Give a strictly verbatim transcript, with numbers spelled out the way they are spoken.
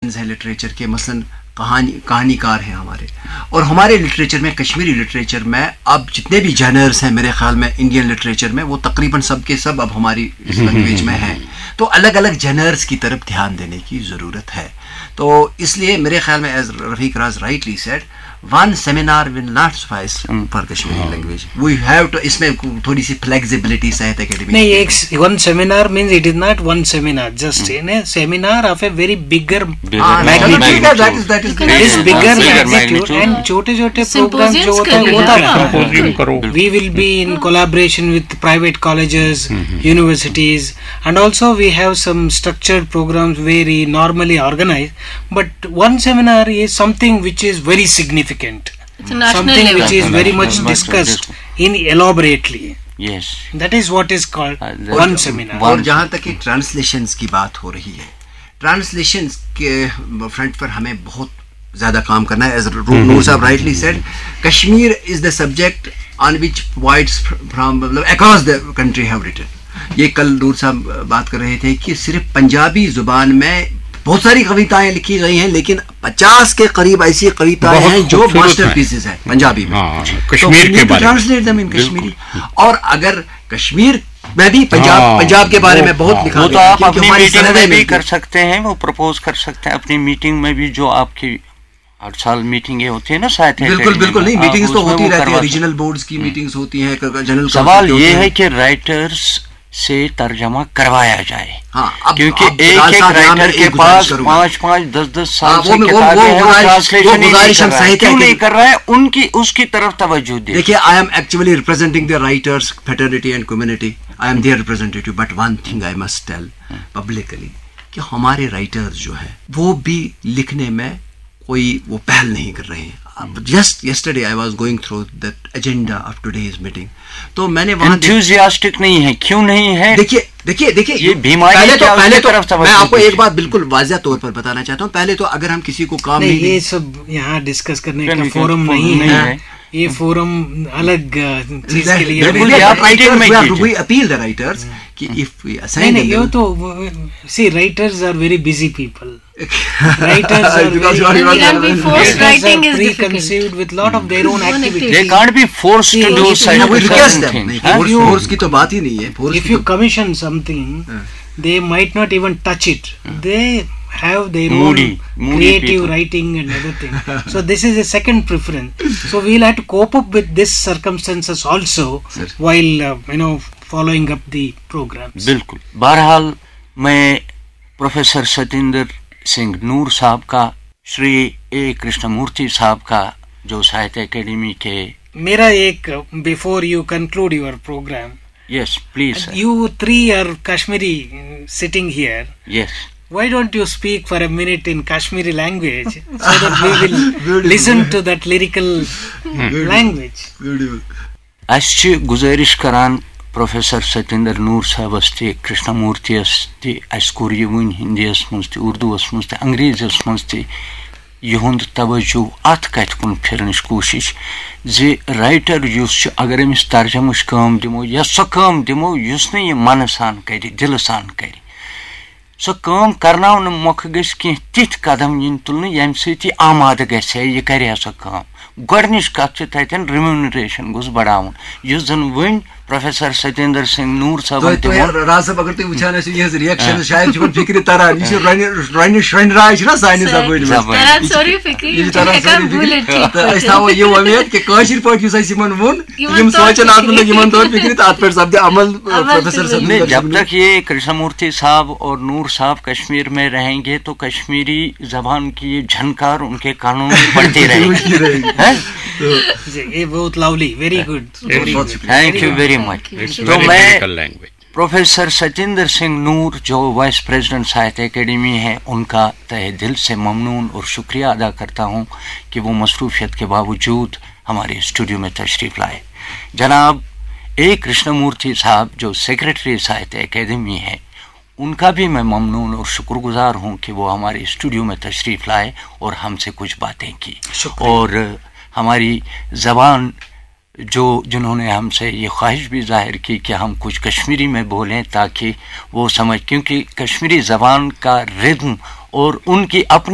ہیں لٹریچر کے، مثلاً کہانی کہانی کار ہیں ہمارے، اور ہمارے لٹریچر میں، کشمیری لٹریچر میں اب جتنے بھی جنرس ہیں، میرے خیال میں انڈین لٹریچر میں وہ تقریباً سب کے سب اب ہماری اس لینگویج میں ہیں۔ تو الگ الگ جنرس کی طرف دھیان دینے کی ضرورت ہے۔ تو اس لیے میرے خیال میں، as Rafiq Raz rightly said, one seminar will not suffice for Kashmiri language. We have to, اس میں تھوڑی سی فلیکسیبلٹی ساہتیہ اکیڈمی نہیں، ایک one seminar means it is not one seminar, just an seminar of a very bigger Bigger magnitude. This bigger magnitude and چھوٹے چھوٹے programme جو ہوتا ہے وہ ہوتا ہے۔ We will be in collaboration with private colleges, universities, and also we have some structured programs very normally organized, but one seminar is something which is very significant, something which is very much discussed in elaborately. Yes. That is what is called one seminar. اور جہاں تک کہ translations کی بات ہو رہی ہے، translations کے front پر ہمیں بہت زیادہ کام کرنا ہے۔ As Noor Saab rightly said, Kashmir is the subject on which poets from, مطلب، across the country have written. یہ کل نور صاحب بات کر رہے تھے کہ صرف پنجابی زبان میں بہت ساری کویتائیں لکھی گئی ہیں، لیکن پچاس کے قریب ایسی کویتائیں ہیں جو ماسٹر پیسز ہیں پنجابی میں۔ کشمیر کے بارے میں۔ ٹرانسلیٹ دم ان کشمیری۔ اور اگر کشمیر میں بھی پنجاب پنجاب کے بارے میں بہت لکھا وہ تو گیا ہے، آپ کیونکہ اپنی ہماری میٹنگ سرحدیں میں بھی ملتی کر سکتے ہیں، وہ پرپوز کر سکتے ہیں اپنی میٹنگ میں بھی، جو آپ کی ہر سال میٹنگیں ہوتی ہیں نا ساہتیہ بالکل اکیڈمی بالکل میں، نہیں، آپ میٹنگز اس تو میں ہوتی وہ رہتی ہے، کروا ریجنل بورڈز کی میٹنگز ہوتی ہیں، جنرل سوال یہ ہے کہ رائٹرز سے ترجمہ کروایا جائے، ہاں، اب کیونکہ اب ایک بلال ایک صاحب، یہاں میں رائٹر کے ایک گزارش پاس کروں گا۔ پانچ پانچ دس دس ہاں، سال وہ سے میں- وہ- کتابیں وہ ہیں، وہ گزارش- ٹرانسلیشن وہ ہی نہیں گزارش کر ہم رہا ہے، ساہتیہ کیوں نہیں اکیڈمی- کر رہا ہے؟ ان کی اس کی طرف توجہ دے۔ دیکھیے، I am actually representing the writers fraternity and community. I am their representative, but one thing I must tell publicly کہ ہمارے رائٹرز جو ہیں وہ بھی لکھنے میں کوئی وہ پہل نہیں کر رہے ہیں۔ Just yesterday I was going through that agenda of today's meeting. تو میں نے وہاں دیکھ- انتھوزیاسٹک نہیں ہے، کیوں نہیں ہے؟ دیکھیے دیکھیے دیکھیے یہ بیماری پہلے کیا تو اس پہلے کی تو طرف توجہ میں آپ کو ایک دیجیے۔ بات بالکل واضح طور پر بتانا چاہتا ہوں۔ پہلے تو اگر ہم کسی کو کام نہیں، نہیں یہ دیں سب یہاں ڈسکس کرنے کا کرنے کا فورم فورم نہیں نہیں ہے۔ ہے۔ یہ فورم الگ آ، چیز کے لیے بالکل، نہیں۔ یہ آپ رائٹرز، میٹنگ میں we have to کیجیے۔ we appeal the writers کہ if we نہیں assign نہیں، یہ them تو سی writers are very busy people. Writers are Because very you are- you are- Can be forced. Writing is pre difficult. conceived with lot of their own activities. They can't be forced to do See, such No, we request certain them. things, نہیں، huh? Force force کی تو بات ہی نہیں ہے۔ Force If کی you commission something, they might not even touch it. They have their Moody, own moody creative people. Writing and everything. So this is a second preference. So we'll have to cope up with this circumstances also while uh, you know following up the programs. بالکل۔ بہرحال، میں professor Satinder Singh نور صاحب کا، Shri A Krishna مورتی صاحب کا، جو Sahitya academy کے میرا ایک, before you conclude your program, یس please sir. You three are Kashmiri uh, sitting here. یس۔ Why don't you speak for a minute in Kashmiri language so that we will listen to that lyrical language? اسہِ چھِ گُزٲرِش کران professor Satyendra نور صٲبس تہِ، کرشنا مورتیس تہِ۔ اسہِ کوٚر یہِ وٕنۍ ہندیس منٛز تہِ، اردوس منٛز تہِ، انگریزس منٛز تہِ یِہُنٛد توجہ اتھ کتھِ کُن پھرنٕچ کوٗشش زِ رائٹر یُس چھُ، اگر أمِس ترجمٕچ کٲم دِمو یا سۄ کٲم دِمو یُس نہٕ یہِ منہٕ سان کرِ، دِلہٕ سان کرِ، سۄ کٲم کرناونہٕ مۄکھٕ گژھِ کینٛہہ تِتھۍ قدم یِنۍ تُلنہٕ ییٚمہِ سۭتۍ یہِ آمادٕ گژھِ ہے، یہِ کرِ ہے سۄ کٲم۔ گۄڈٕنِچ کتھ چھِ تتٮ۪ن ریمونریشن گوٚژھ بڑاوُن، یُس زن وۄنۍ پروفیسر ستیندر سنگھ نور صٲبن تۄہہِ تہِ تۄہہِ ووٚن۔ راز صٲب، اگر تُہۍ وٕچھان ٲسِو یِہٕنٛز ریئیکشن، شاید چھِ یِمن فِکرِ تران، یہِ چھِ رۄنہِ رۄنہِ شرۄنہِ راے چھِنہ سانہِ زبٲنۍ منٛز۔ زبٲنۍ۔ تران سورُے فِکرِ، یہِ یہِ چھِ چھِنہٕ تران ہٮ۪کان سورُے بوٗلِتھ فِکرِ۔ کینٛہہ۔ تہٕ أسۍ تھاوو یہِ وۄمید کہِ کٲشِر پٲٹھۍ یُس اَسہِ یِمن ووٚن، یِمن یِم سونٛچن سونٛچن اَتھ مُتعلِق، یِمن تور فِکرِ تہٕ اَتھ پٮ۪ٹھ سپدِ عمل، آ، عمل تہِ پروفیسر ؤنِو۔ صٲب۔ جب تک یہ کرشنا مورتی صاحب اور نور صاحب کشمیر میں رہیں گے تو کشمیری زبان کی یہ جھنکار ان کے کانوں میں پڑتی رہے گی۔ ہیں؟ جی، یہ بہت lovely, very good, very good. Thank you very much. تو میں پروفیسر ستیندر سنگھ نور جو وائس پریزیڈنٹ ساہتیہ اکیڈمی ہے، ان کا تہہ دل سے ممنون اور شکریہ ادا کرتا ہوں کہ وہ مصروفیت کے باوجود ہمارے اسٹوڈیو میں تشریف لائے۔ جناب اے کرشنا مورتی صاحب جو سیکرٹری ساہتیہ اکیڈمی ہیں، ان کا بھی میں ممنون اور شکر گزار ہوں کہ وہ ہمارے اسٹوڈیو میں تشریف لائے اور ہم سے کچھ باتیں کی۔ اور ہماری زبان جو، جنہوں نے ہم سے یہ خواہش بھی ظاہر کی کہ ہم کچھ کشمیری میں بولیں تاکہ وہ سمجھ، کیونکہ کشمیری زبان کا ردم اور ان کی اپنی